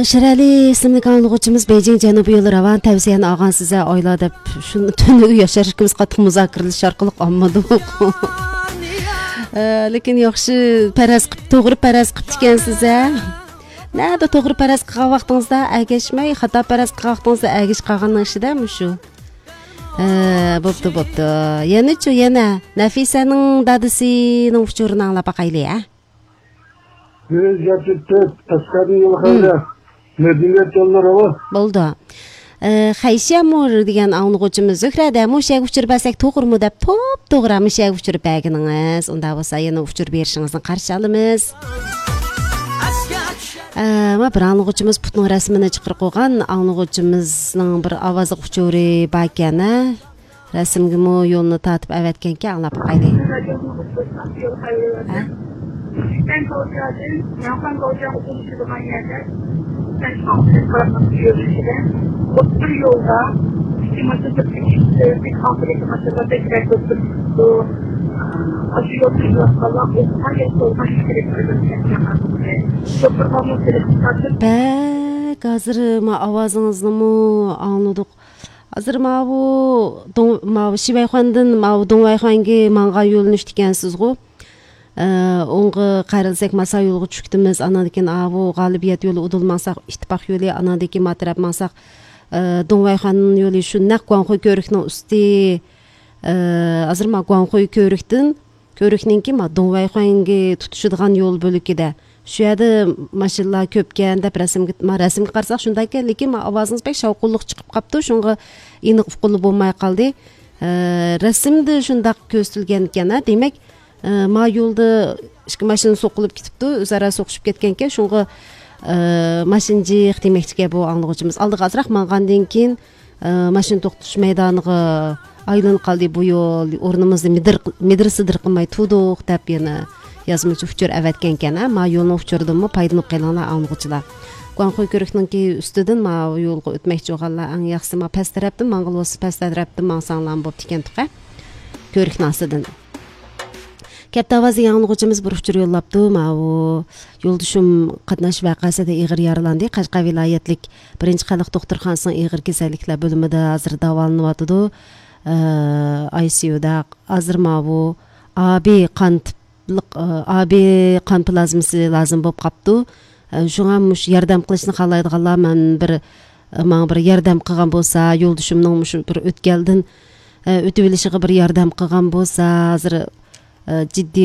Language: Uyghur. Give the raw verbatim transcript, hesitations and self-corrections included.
شېرئەلى ئىسىملىك ئاڭلىغۇچىمىز بېيجىڭ جەنۇبىي يول راۋان تەۋسىيەنى ئالغانسىز ھە ئايلا دەپ، شۇ تۈنۈگۈن ياشار ئىككىمىز قاتتىق مۇزاكىرىلىشىش ئارقىلىق ئالمىدۇق. ئە، لېكىن ياخشى پەرەز قىپ، توغرا پەرەز قىپتىكەنسىز ھە. نەدە توغرا پەرەز قىلغان ۋاقتىڭىزدا ئەگەشمەي، خاتا پەرەز قىلغان ۋاقتىڭىزدا ئەگىشىپ قالغاننىڭ ئىچىدە مۇشۇ. ئە، بوپتۇ، بوپتۇ. يەنىچۇ، يەنە نەفىسەنىڭ دادىسىنىڭ ئۇچۇرىنى ئاڭلاپ باقايلى ھە. يۈز يەتتە تۆت، ئەسقەردىن يول خەيرى. مەدەنىيەت يوللىرى بۇ. بولدى. ئە، خەيشەمۇر دېگەن ئاڭلىغۇچىمىز زۆھرەدە مۇشۇ يەرگە ئۇچۇر بەرسەك توغرىمۇ دەپ، توپ توغرا مۇشۇ يەرگە ئۇچۇر بەرگىنىڭىز. ئۇنداق بولسا يەنە ئۇچۇر بېرىشىڭىزنى قارشى ئالىمىز. ئە، ما بىر ئاڭلىغۇچىمىز پۇتنىڭ رەسىمىنى چىقىرىپ قويغان، ئاڭلىغۇچىمىزنىڭ بىر ئاۋازلىق ئۇچۇرى باركەن ھە. رەسىمگىمۇ يولنى تارتىپ ئەۋەتكەنكەن، ئاڭلاپ باقايلى. ھە؟ بەك ھازىر ما ئاۋازىڭىزنىمۇ ئاڭلىدۇق. ھازىر ماۋۇ دوڭ-، ماۋۇ شىۋەيخۇاندىن ماۋۇ دوڭۋەيخۇەنگە ماڭغان يۆنىلىشتىكەنسىزغۇ. ئە، ئوڭغا قارىساق ماسا يولغا چۈشۈپتىمىز. ئاناندىن كېيىن ئاۋۇ غالىبىيەت يولى ئۇدۇل ماڭساق، ئىتتىپاق يولى، ئاناندىن كېيىن ما تەرەپ ماڭساق، ئە، دوڭۋەيخۇەن يولى شۇ نەق گۇاڭخۇي كۆۋرۈكنىڭ ئۈستى. ئە، ھازىر ما گۇاڭخۇي كۆۋرۈكتىن، كۆۋرۈكنىڭكى ما دوڭۋەيخۇەنگە تۇتىشىدىغان يول بۆلىكىدە. شۇ يەردە ماشىنىلار كۆپكەن دەپ رەسىمگە، ما رەسىمگە قارىساق شۇنداككەن، لېكىن ما ئاۋازىڭىز بەك شاۋقۇنلۇق چىقىپ قاپتۇ، شۇڭا ئېنىق ئۇققىلى بولماي قالدى. ئە، رەسىمدە شۇنداق كۆرسىتىلگەنكەن ھە، دېمەك، ئە، ما يولدا ئىككى ماشىنا سوقۇلۇپ كېتىپتۇ، ئۆزئارا سوقۇشۇپ كەتكەنكەن، شۇڭا، ئە، ماشىنا جىق دېمەكچىكەن بۇ ئاڭلىغۇچىمىز. ئالدىغا ئازراق ماڭغاندىن كېيىن، ئە، ماشىنا توختىتىش مەيدانىغا ئايلىنىپ قالدى بۇ يول، ئورنىمىزنى مىدىر-، مىدىر-سىدىر قىلماي تۇردۇق دەپ يەنە يازمىچە ئۇچۇر ئەۋەتكەنكەن ھە، ما يولنىڭ ئۇچۇرىدىنمۇ پايدىلىنىپ قېلىڭلار ئاڭلىغۇچىلار. گۇاڭخۇي كۆۋرۈكنىڭكى ئۈستىدىن ما يولغا ئۆتمەكچى بولغانلار ئەڭ ياخشىسى ما پەس تەرەپتىن ماڭغىلى بولسا پەس تەرەپتىن ماڭساڭلارمۇ بوپتىكەن تۇقە. كۆۋرۈكنىڭ ئاستىدىن. كەپتە ئاۋازى ئاڭلىغۇچىمىز بىر ئۇچۇر يوللاپتۇ. ماۋۇ يولدىشىم قاتناش ۋەقەسىدە ئېغىر يارىلاندى. قەشقەر ۋىلايەتلىك بىرىنچى خەلق دوختۇرخانىسىنىڭ ئېغىر كېسەللىكلەر بۆلۈمىدە ھازىر داۋالىنىۋاتىدۇ. ئە، ئاي سىيۇدا ھازىر ماۋۇ ئابى قان تىپلىق، ئە، ئابى قان پلازمىسى لازىم بولۇپ قاپتۇ. ئە، شۇڭا مۇشۇ ياردەم قىلىشنى خالايدىغانلار مەن بىر، ئە، ماڭا بىر ياردەم قىلغان بولسا، يولدىشىمنىڭ مۇشۇ بىر ئۆتكەلدىن، ئە، ئۆتۈۋېلىشىغا بىر ياردەم قىلغان بولسا، ھازىر، ئە، جىددىي